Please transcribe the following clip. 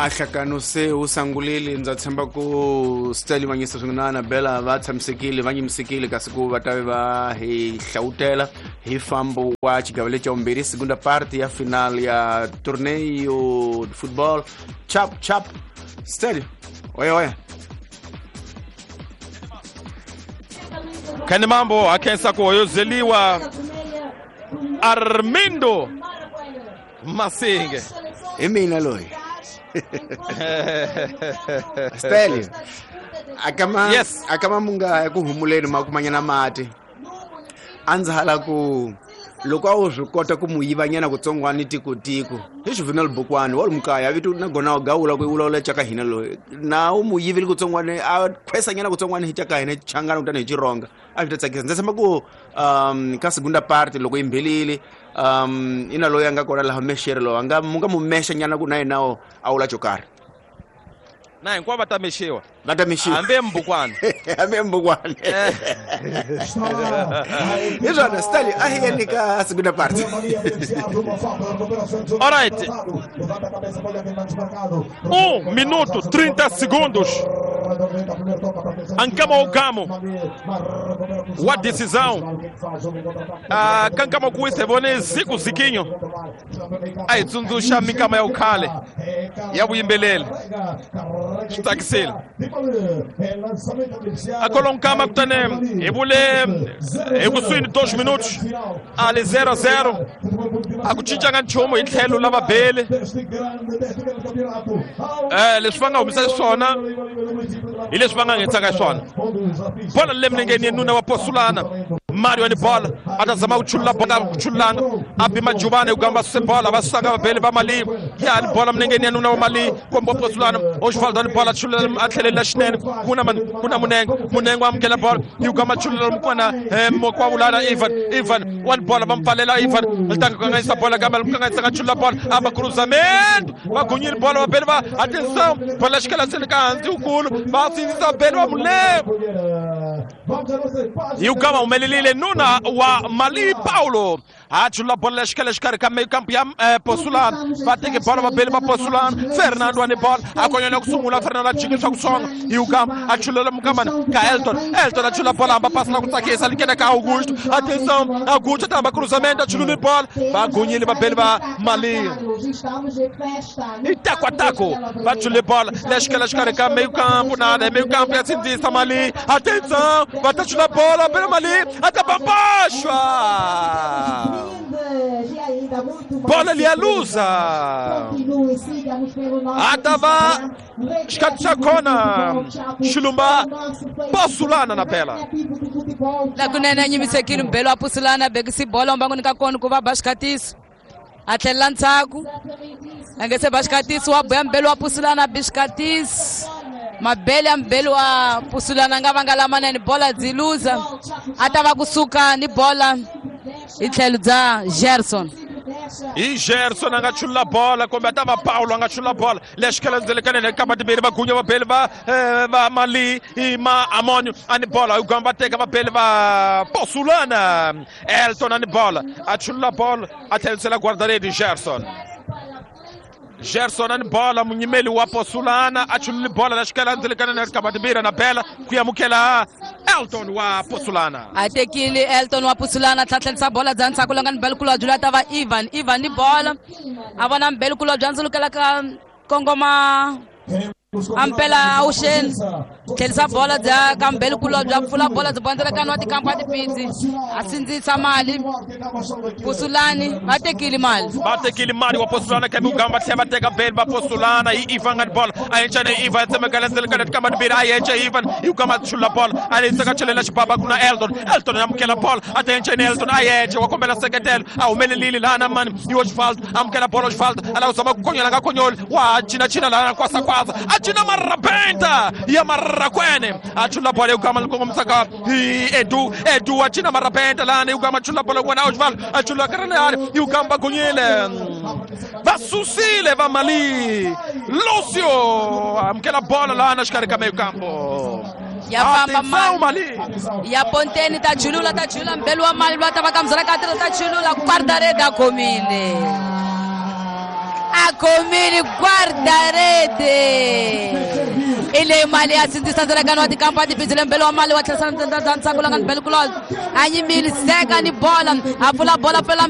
A hlakano se wu sangulile, ndza tshemba ku Stanley Manyisa swin'we na Anabella va tshamisekile, va nyimisekile, kasi ku va ta va hi hlawutela hi fambo wa xigava lexi xa vumbirhi, segunda parte ya final ya torneio de football chap chap. Stanley, oya oya. Khani mambo a khensa ku hoyozeliwa Armindo Masinge. Hi mina loyi. Stanley, akama Yes. akama munga ku humuleni ma kumanyana mati. A ndzi hala ku loko a wu swi kota ku mu yivanyana kutsongwani tikotiko hi Juvenal Bukwani wa lumukaya vito na gona gawula ku vulavula caka hina loyi na u mu yivile kutsongwani a khwesanyana kutsongwani hi caka hina changana kutani hi chironga a swi ta tsakisa. Ndzi tshemba ku ka segunda parte loko yi mbhelile ina loyi a nga kona laha mexere loyi a nga mu nga mu mexa nyana ku na yena a wula xo karhi. Na hinkwavo va ta mexiwa. Va ta mexiwa. Hambi embukwana. Hambi embukwana. Hi swona Stanley, a hi yeni ka segunda parte. All right. 1 minuto 30 segundos. Ankama Ogamo wa decisão. Ah, kankama kuwisa hi vone Ziku Zikinho a hi tsundzuxa minkama ya vukhale ya vuyimbeleri, swi tsakisile. A kolonkama kutani hi vule hi kusuhi ni 2 minutos a li 0-0, a ku cincanga nchumu hi tlhelo la vabeli. Leswi va nga humesa xiswona hi leswi va nga nghenisaka xiswona. Bola le milengeni ya nuna wa Posulana Mario ni bola a ta zama ku chulula bola, ku chululanga a bima Jubane ku gamba suse bola, va susanga vabeli va Mali. Ya ni bola milengeni ya nuna wa Mali komba Posulana Osvaldo ni bola chulula a tlhelela xinene kuna man kuna Munengo, Munengo amukela bola yi gamba chulula mukwana mokwa vulana Ivan, Ivan wa ni bola va mpfalela Ivan ri kanganyisa bola kambe ri kanganyisa nga chulula bola amba cruzamento va gunyile bola vabeli va atenção bola xikela sele ka hansi wukulu va sindzisa beli va Munengo. Yi gama humelelile nuna wa Mali Paulo a chulula bola la xikela xikarhi ka kampu ya Posulana va teke bola vabeli va Posulana Fernando wa ni bola a konyela ku sungula Fernando a jikisa ku songa yi gama a chululela mukamana ka Elton, Elton a chulula bola hamba pasi la ku tsakisa li nghena ka Augusto atenção Augusto ta hamba cruzamento a chulula bola va gunyile vabeli va Mali i taco a taco va chulule bola la xikela xikarhi ka meio campo nada meio campo ya sindzisa Mali atenção va ta chula bola pela Mali até baixo. Bola ali a luza. Atava Xikatshakona Xilumba Posulana na bela. La kunene nyimisekile mbelo wa Posulana bekisi bola mbangoni ka kona ku va ba xikatiso. A tlhelela ndzhaku. A nge se ba xikatiso wa boya mbelo wa Posulana bixikatiso. Mabele ya mbelo wa Posulana nga vanga lamanene bola dzi luza. A ta va kusuka ni bola hi tlhelo bya Gerson. Hi Gerson a nga chulula bola kumbe a ta va Paulo a nga chulula bola lexi khelandzelekanene kamba timbirhi va gunya vabeli va va Mali i ma Amonio a ni bola hi gamba teka vabeli va Posulana Elton a ni bola a chulula bola a tlherisela guarda-rede Gerson. Gerson a ni bola munyimeli wa Posulana a chulule bola la xikelandzelekanene kamba timbirhi na bela ku amukela Elton wa Posulana. A tekile Elton wa Posulana tlhatlhelisa bola bya ndzhaku longa ni Belkulo byi ta va Ivan, Ivan ni bola a vona Belkulo bya ndzulukela ka kongoma ampela auxeni tlhelisa bola bya ka Belkulo bya pfula bola byi bondzelekana wa tikampa tipitsi a sindzisa mali Posulani va tekile mali. Va tekile mali wa Posulana kambe u gamba tlhela va teka beli va Posulana hi Ivan nga ni bola a yenca ni Ivan tsemekela ndzelekana tikamba timbirhi a yenca Ivan hi ku gamba chulula bola a yisa ka chelela xibaba ku na Elton, Elton a amukela bola a ta yenca ni Elton a yenca wa kombela seketelo a humelelile laha mani hi Osvaldo amukela bola Osvaldo a lava ku zama ku konyola nga konyoli wa cina cina laha kwasa kwasa a cina marabenta ya marrakwene a chula bola yugama likongomisa hi Edu, Edu a cina marabenta laha yugama chula bola n'wana Osvaldo a chula karani yugamba gunyile va susile va Mali Lucio amukela bola laha xikarhi ka meio campo. Ya famba mali ya Ponteni ta chulula ta chulula mbelo wa Mali va ta va kamzela ka ta chulula guarda-rede a khomile. A Khomile guardarete i leyi mali ya sindzisa ndzilakano wa tikampa tibizile mbele wa mali wa tlherisa ntsako langa ni bele kulolo a nyimile seka ni bola a pfula bola pfela.